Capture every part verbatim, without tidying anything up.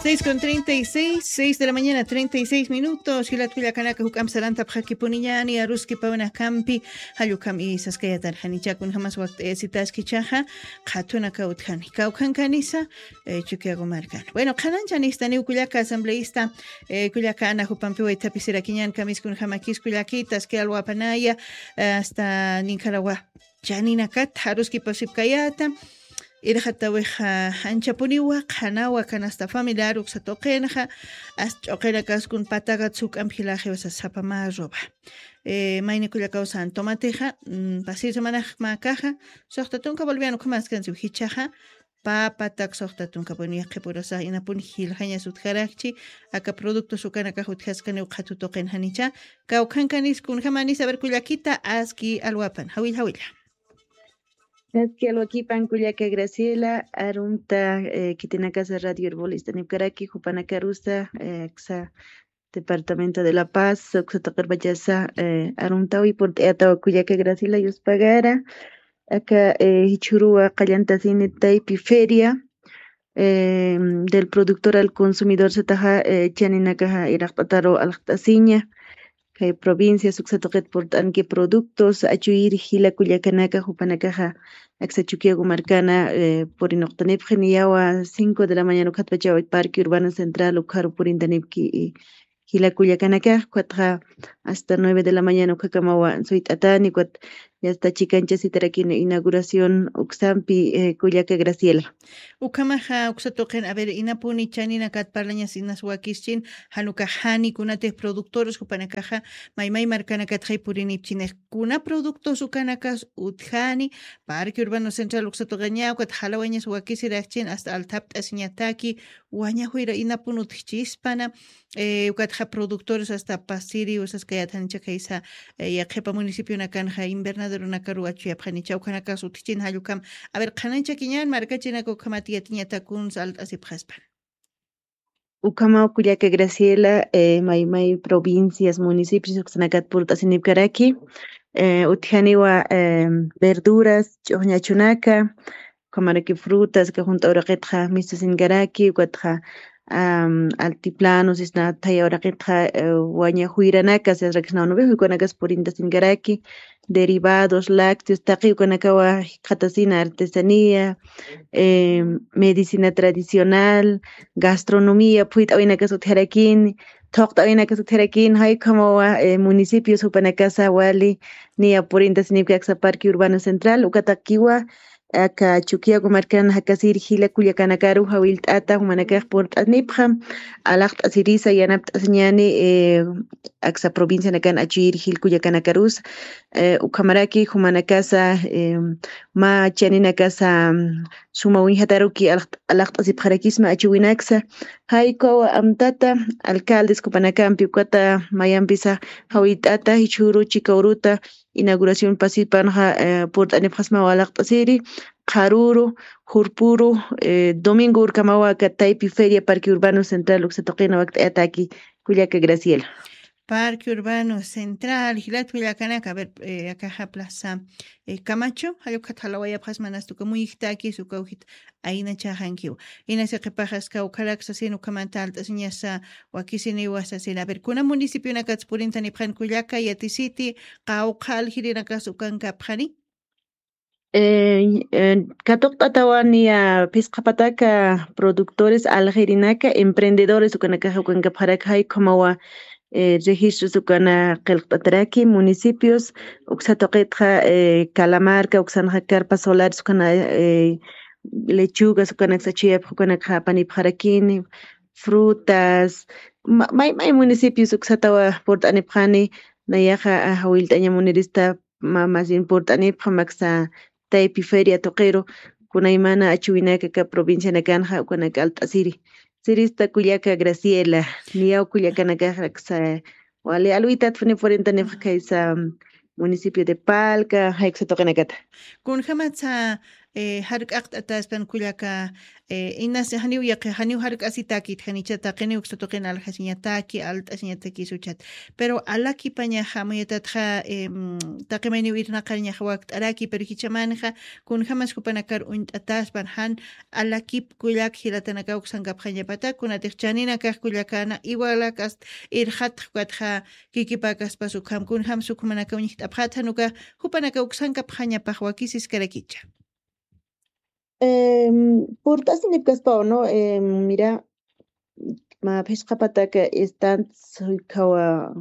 Seis con treinta y seis, seis de la mañana, treinta y seis minutos. Jilat kullakanaka, juk'amp sarantapxakipuniñäni aruskipawinakampi. Jallukam isaskayatarjanicha, kunjamas wakt'ayasitaskichaxa, qhatunaka utjani. Kawkhankanisa, eh, Chukiyawu markan. Bueno, qhananchanistaniw kullaka asambleísta, eh, kullaka Ana jupampiw waythapisirakiñän, kamis kunjamakis kullakita, aski alwapanaya, eh, hasta ninkharawa chaninakat aruskipasipkayäta, irxatawixa anchapuniwa qhanawa canasta familiar uksa tuqinxa, hasta ch'uqinakaskun patakat suk'amp jilaxiwsa sapa mä roba. Eh, mayni kullakawsan tomatixa, mm, pasir semanax mä caja, suxta tunka boliviano ukhamaskansiw jichhaxa, papa tak suxta tunka, bueno, yaqhipurasa inapun jiljañas utjarakchi, aka productos ukanakax utjaskaniw qhatu tuqinxanicha, kawkhankanis kunjamanis, a ver, kullakita, aski alwapan, jawilla, jawilla. Aski alwakipan kullaka Graciela, arunta, eh, khitinakasa Radio Herbol istanipkaraki, jupanakarusa, eh, aksa Departamento de La Paz, uksa tuqirpachasa, eh, aruntawi purt'ayatawa kullaka Graciela Yuspagara, aka, eh, jichhuruwa qallantasini taypi feria, eh, del productor al consumidor sataxa, eh, chaninakaxa iraqt'ataru alqt'asiña. Kay provincias uksa tuqit purt'anki productos, achuyir jila kullakanaka, jupanakaxa aksa Chukiyawu markana, eh, purinuqtanipxi niyawa cinco de la mañana ukhatpachawa Parque Urbano Central ukharu purintanipki, eh, jila kullakanaka, ukatxa hasta nueve de la mañana ukhakamawa suyt'atani, ukat ya está chikanchasitarakini inauguración uksampi, eh, kullaka Graciela. Ukhamaxa uksa tuqin, a ver, inapuni chaninakat parlañas inas wakischin, jan ukax jani kunatix productores jupanakaxa maymay markanakatxay purinipchinix, kuna productos ukanakas utjani, Parque Urbano Central uksa tuqiña, ukat jalawañas wakisirakchin, hasta althapt'asiñataki, waña juyra inapun utjchispana, eh, ukatxa productores hasta pasiri usaskayatanicha kaysa, eh, yaqhipa municipionakanxa invernadero nakaru achuyapxanicha, ukhanakas utjchin jallukam. A ver, qhananchakiñan markachinak ukhamat yatiñatakunsa alt'asipxaspan. Ukhamaw kullaka Graciela, eh, maymay provincias, municipios uksanakat purt'asinipkaraki, eh, utjaniwa, eh, verduras, ch'uxñachunaka, ukhamaraki frutas, ka junt'a uraqitxa mistusinkaraki, ukatxa, am, altiplano, sisna thaya uraqitxa, eh, waña juyranaka, sisrakisnaw nubi juykanakas purintasinkaraki, derivados, lácteos, taqi ukanakawa jikxatasina artesanía, eh, medicina tradicional, gastronomía, phuyt'awinakas utjarakini, thuqt'awinakas utjarakini, jay ukhamawa, eh, municipios jupanakasa wali niya purintasinipki aksa Parque Urbano Central, ukatakiwa, aka Chukiyawu markan jakasir jila kullakanakaru jawillt'ata jumanakax purt'anipxa, alaqt'asirisa yanapt'asiñani, eh, aksa provincianakan achuyir jil kullakanakarusa, eh, ukhamaraki jumanakasa, eh, mä chaninakasa, mm, suma uñjataruki alaq-, alaqt'asipxarakisma achuwinaksa, jay ukawa amtata, alcaldes jupanakampi ukata mayampisa jawillt'ata, jichhüru chika uruta, inauguración pasipanxa, eh, purt'anipxasmaw alaqt'asiri, qharüru, jurpüru, eh, domingo urkamawa aka taypi feria Parque Urbano Central uksa tuqina wakt'ayataki, kullaka Graciela. Parque Urbano Central, jilat kullakanaka, a ver, eh, akaxa plaza, eh, Camacho, jay ukat jalawayapxasma, nasta uka muyijtakis, uka ujit aynachaxankiw. Inasa qhipaxas kawkharak sasin ukhamanta alt'asiñasa wakisiniwa sasin. A ver, kuna municipionakats purintanipxan kullaka, yatisiti, qawqha aljirinakas ukankapxani? Eh, eh, katuqt'atawa niya phisqa pataka productores aljirinaka, emprendedores ukanakaxa ukankapxaraki, jay ukhamawa, eh, registros ukana qillqt'ataraki, municipios, uksa tuqitxa, eh, Calamarca, uksanxa carpas solares ukana, eh, lechugas ukanaksa achuyapx ukanakxa apanipxarakini, frutas, ma-, may, may municipios uksatawa purt'anipxani, nayaxa, ah, jawillt'aña munirista, ma-, más bien purt'anipxa maksa taypi feria tuqiru, kunaymana achuwinaka aka provincianakanxa ukanak alt'asiri. Sirista kullaka Graciela, niyaw kullakanakax aksa, wali alwitatpuni purintanipxa kaysa municipio de Palca, jay uksa tuqinakata. Kunjamatsa, Jark'aqt'ataspan kullaka, inas janiw yaqi janiw jark'asitakit janicha taqiniw uksa tuqin aljasiñataki alt'asiñatakis uchat. Pero alakipañaxa muyatatxa taqimayniw irnaqarñaxa wakt'araki pero jichamanxa kunjamas jupanakar uñt'ataspan jan alakip kullak jilatanakaw uksankapxañapata kunatix chaninakax kullakana iwalakas irxatx ukatxa kikipakaspas ukham kunjam sukhumanaka uñjt'apxatxan uka jupanaka uksankapxañapax wakisiskarakicha. Purt'asinipkaspaw no mira, mä phisqapataka estants uykhawa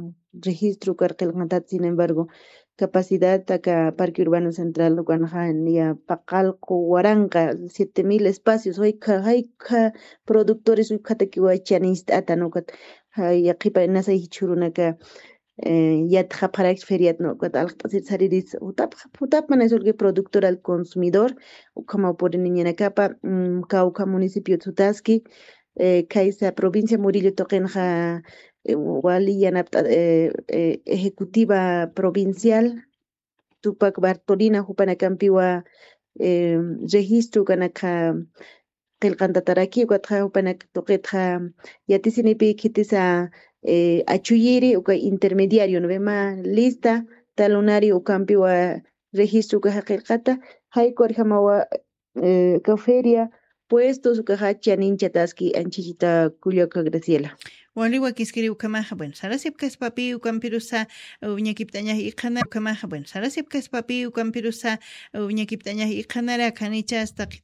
registro karqilqantat sin embargo capacidad taka parque urbano central ukanxa niya paqalqu waranqa siete mil espacios jaykha jaykha productores ukhatakiwa chaninst'ata nukat. Yaqipa nasay jichhurunaka yatxapxarakchi feriat nukat alqt'asir sariris jutapxa jutapmana es olque productor al consumidor ukhamaw puriniñanakapa kawkha municipio sutaski. Khaysa provincia murillo tuqinxa wali yanapt'a ejecutiva provincial tupak bartolina jupanakampiwa registro ukanakxa qillqantataraki ukatxa jupanak tuqitxa yatisinipi khitisa achuyiri uka intermediario no ve ma lista talunari ukampiwa registro ukaxa qillqata jaykurjamawa uka feria puestos ukaxa chaninchataski anchichita kullaka graciela. Wali wakiskiri ukhamaxa bueno sarasipkaspapi ukampirusa uñakipt'añax iqhanara ukhamaxa bueno sarasipkaspapi ukampirusa uñakipt'añax iqhanara khanichas taqi